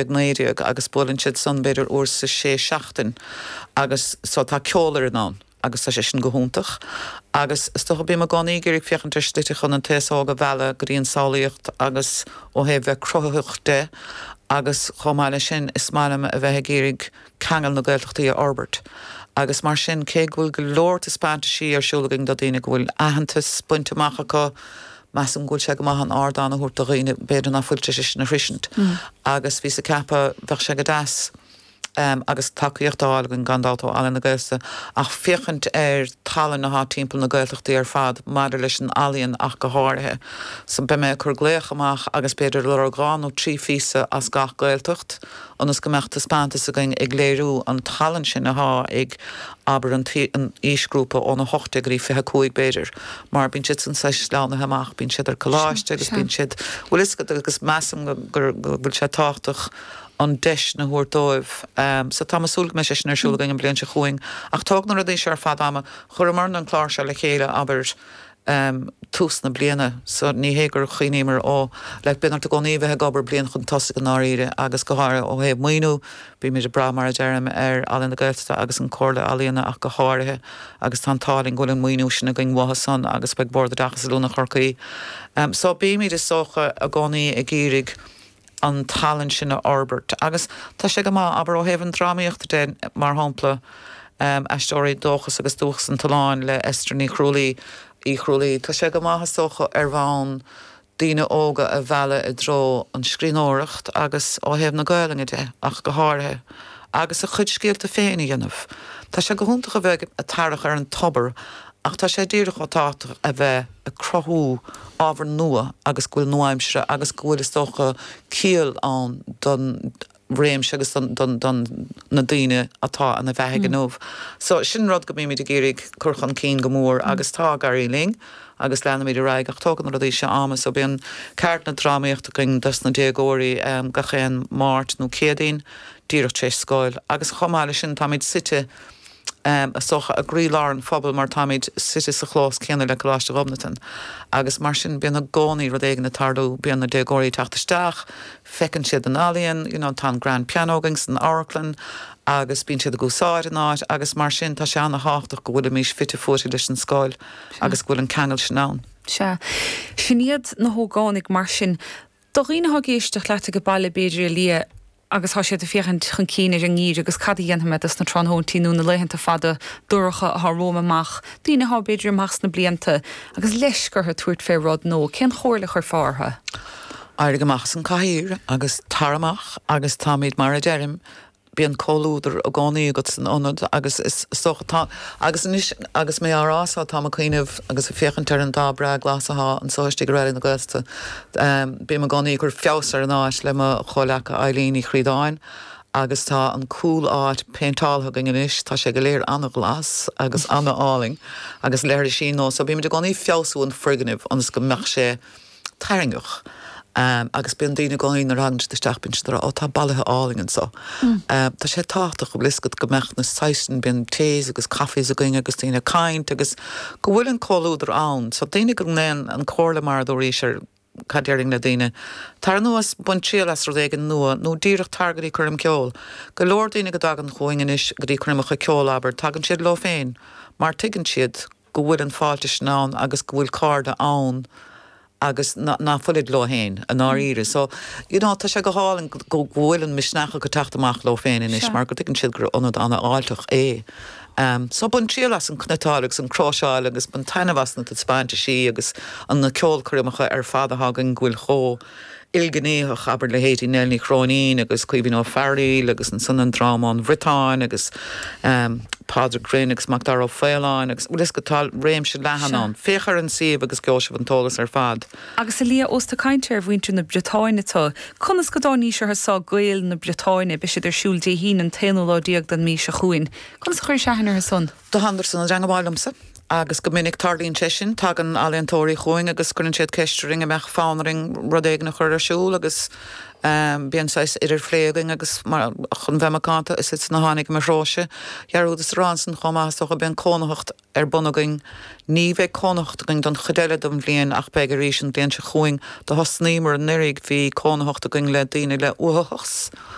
19 agus buaileann siad san b'fhéidir uair sa sé seachtain agus so tá ceolfhoireann ann agus tá sé sin go hiontach agus is dócha bím i gcónaí ag iarraidh féachaint ar shlite chun an t-aos óg a mhealladh go dtí an samhlaíocht agus ó thaobh bheith cruthaitheach de agus chomh maith leis sin is maith liom a bheith ag iarraidh ceangal na Gaeltachtaí a fhorbairt agus mar sin cé go bhfuil go leor taispeántaisí ar siúl againn do daoine go bhfuil aitheantas bainte amach acu Measaim go bhfuil sé go maith an ardán a thabhairt do dhaoine b'fhéidir ná fuil tar éis é sin a shroisint agus bhíos ag ceapadh bheadh sé go deas agus tacaíocht á fháil againn gan dabht ó Ealaín na Gaeltachta ach féachaint ar tallann athá timpeall na Gaeltachtaí ar fad maidir leis an ealaíon ach go háirithe. So beidh mé ag cur glaoch amach agus b'fhéidir lorg 2 nó 3 phíosa as gach Gaeltacht ionas go mbeadh taispeántas againn ag léiriú an tallann sin athá ag, abair, an aoisghrúpa ón 18 go dtí 25 b'fhéidir, mar bíonn siad san saghas sleamhnaithe amach, bíonn siad ar coláiste agus bíonn siad, bhfuil fhios agat, agus measaim go bhfuil sé tábhachtach an deis sin a thabhairt dóibh. So táim ag súil go mbeidh sé sin ar siúl againn an bhliain seo chugainn. Ach tógann na rudaí seo ar fad ama. Chuireamarna an clár seo le chéile, abair, tús na bliana so ní hé gur chuimhníomar ó like bíonn ort i gcónaí bheith ag obair bliain chun tosaigh i ndáiríre agus go háirithe ó thaobh maoiniú bímid ag brath mar a deirim ar Ealaín na Gaeltachta agus an Comhairle Ealaíona ach go háirithe agus tá an t-ádh linn go bhfuil an maoiniú sin againn uathu san agus beidh Bord Oideachais Oiliúna Chorcaí so bímid is dócha i gcónaí ag iarraidh an tallann sin a fhorbairt. Agus tá sé go maith, abair, ó thaobh an drámaíochta de, mar shampla, Aisteoirí Dóchas agus Dúchas an tSuláin le Esther Ní Chrualaoi, Uí Chrualaoi, tá sé go maith, is dócha, ar bhonn daoine óga a mhealladh i dtreo an scríbhneoireacht agus ó thaobh na Gaelainne de ach go háirithe, agus a chuid scéalta féin a dhéanamh. Tá sé go hiontach a bheith ag tarrac ar an tobar ach tá sé díreach chomh tábhachtach a bheith ag cruthú ábhar nua agus go bhfuil nua-aimseartha agus go bhfuil, is dócha, ciall ann don réimse agus don na daoine atá ina bheathaidh inniu. So, sin rud go mbímid ag iarraidh cur chun cinn go mór agus tá ag éirí linn agus leanfaimid ar aghaidh ach tógann na rudaí seo ama. So, bíonn ceardlanna drámaíochta againn dos na déagóirí gach aon Máirt nó Céadaoin díreach tar éis scoil agus chomh maith leis sin táimid suite is dócha, i gcroílár an phobail mar táimid suite sa chlós céanna le Coláiste Ghobnatan agus mar sin bíonn i gcónaí rud éigin ag tarlú, bíonn na déagóirí ag teacht isteach, feiceann siad an ealaíon, you know tá an grand piano againn san amharclann agus bíonn siad ag úsáid an áit agus mar sin tá sé ana-thábhachtach go bhfuilimís fite fuaite leis an scoil agus go bhfuil an ceangal sin ann. Sea. Sin iad na hógánaigh mar sin. Do dhaoine atá ag éisteacht leat ag baile b'fhéidir a Lia agus tá siad ag féachaint chun cinn ar an ngeimhreadh agus cad a dhéanfaidh mé dos na tráthnóintí nó na laethanta fada dorcha atá romham amach, daoine atá b'fhéidir amach sna blianta agus leisc orthu tabhairt fé rud nó cén chomhairle a chuirfeá orthu? Éirigh amach as an cathaoir agus tar amach agus táimid mar a deirim Bíonn comhluadar i gcónaí agat san ionad agus is dócha tá, agus anois agus mé á rá so táim ag cuimhneamh agus ag féachaint ar an dath breá glas athá anso istigh i Raidió na Gaeltachta. Bím i gcónaí ag cur feabhas ar an áit le mo chomhleaca Eileen Ní Chríodáin agus tá an cúl áit péinteáltha againn anois, tá sé go léir ana-ghlas agus ana-álainn agus leithrisí nua so bímid i gcónaí ag feabhsú an foirgnimh ionas go mbeadh sé tarraingeach agus bíonn daoine i gcónaí nuair a thagann siad isteach bíonn siad ag rá 'Ó tá bolaithe álainn anso'. Tá sé tábhachtach go bhfuil fhios agat go mbeadh na saghas bíonn teas agus coffees againn agus daoine ag caint agus go bhfuil an comhluadar ann. So daoine go ndéan an comhairle mar a dúraís ar cad déarfainn le daoine, tar anuas, bain triail as rud éigin nua nó díreach tar go dtí coirm ceoil. Go leor daoine go dtagann chugainn anois go dtí coirmeacha ceoil abair, tagann siad leo féin mar tuigeann siad go bhfuil an fáilte sin ann agus go bhfuil cairde ann agus ná fuilid leo féin i ndáiríre. So, you know, tá sé go hálainn go bhfuil an misneach acu teacht amach leo féin anois mar go dtuigeann siad gur ionad an-fháilteach é. So bain triail as an cniotáil agus an cróiseáil agus bain taitneamh as na taispeántaisí agus an na ceolchoirmeacha ar fad atá againn go bhfuil chomh ilghnéitheach, abair leithéidí Nell Ní Chróinín agus Caoimhín Ó Fearghaíl agus ansan an dráma ón Bhriotáin agus Pádraig Rynne agus Macdara Ó Faoláin agus bhfuil fhios agat tá réimse leathan ann. Féach ar an suíomh agus gheobhaidh sibh an t-eolas ar fad. Agus a Lia, ós tú ag caint ar mhuintir na Briotáine tu, conas go dtáinís orthu so, Gaeil na Briotáine, beidh siad ar siúl Dé hAoine an t-aonú lá den mhí seo chugainn. Conas a chuiris aithne orthu san? Do thánadar san i dteangabháil liomsa. Agus go minic tarlaíonn sé sin, tagann ealaíontóirí chugainn agus cuireann siad ceist orainn an mbeadh fonn orainn rud éigin a chur ar siúl agus bíonn saghas idirphlé againn agus mar, chun bheith macánta, is iadsan a tháinig i mo threoise. Dhearúdas a rá ansan chomh maith, is dócha, bíonn cónaitheacht ar bun againn. Ní bheidh cónaitheacht againn don chuid eile den bhliain ach beidh arís an bhliain seo chugainn. Do thosnaíomar anuraidh, bhí cónaitheacht againn le daoine le uathachas.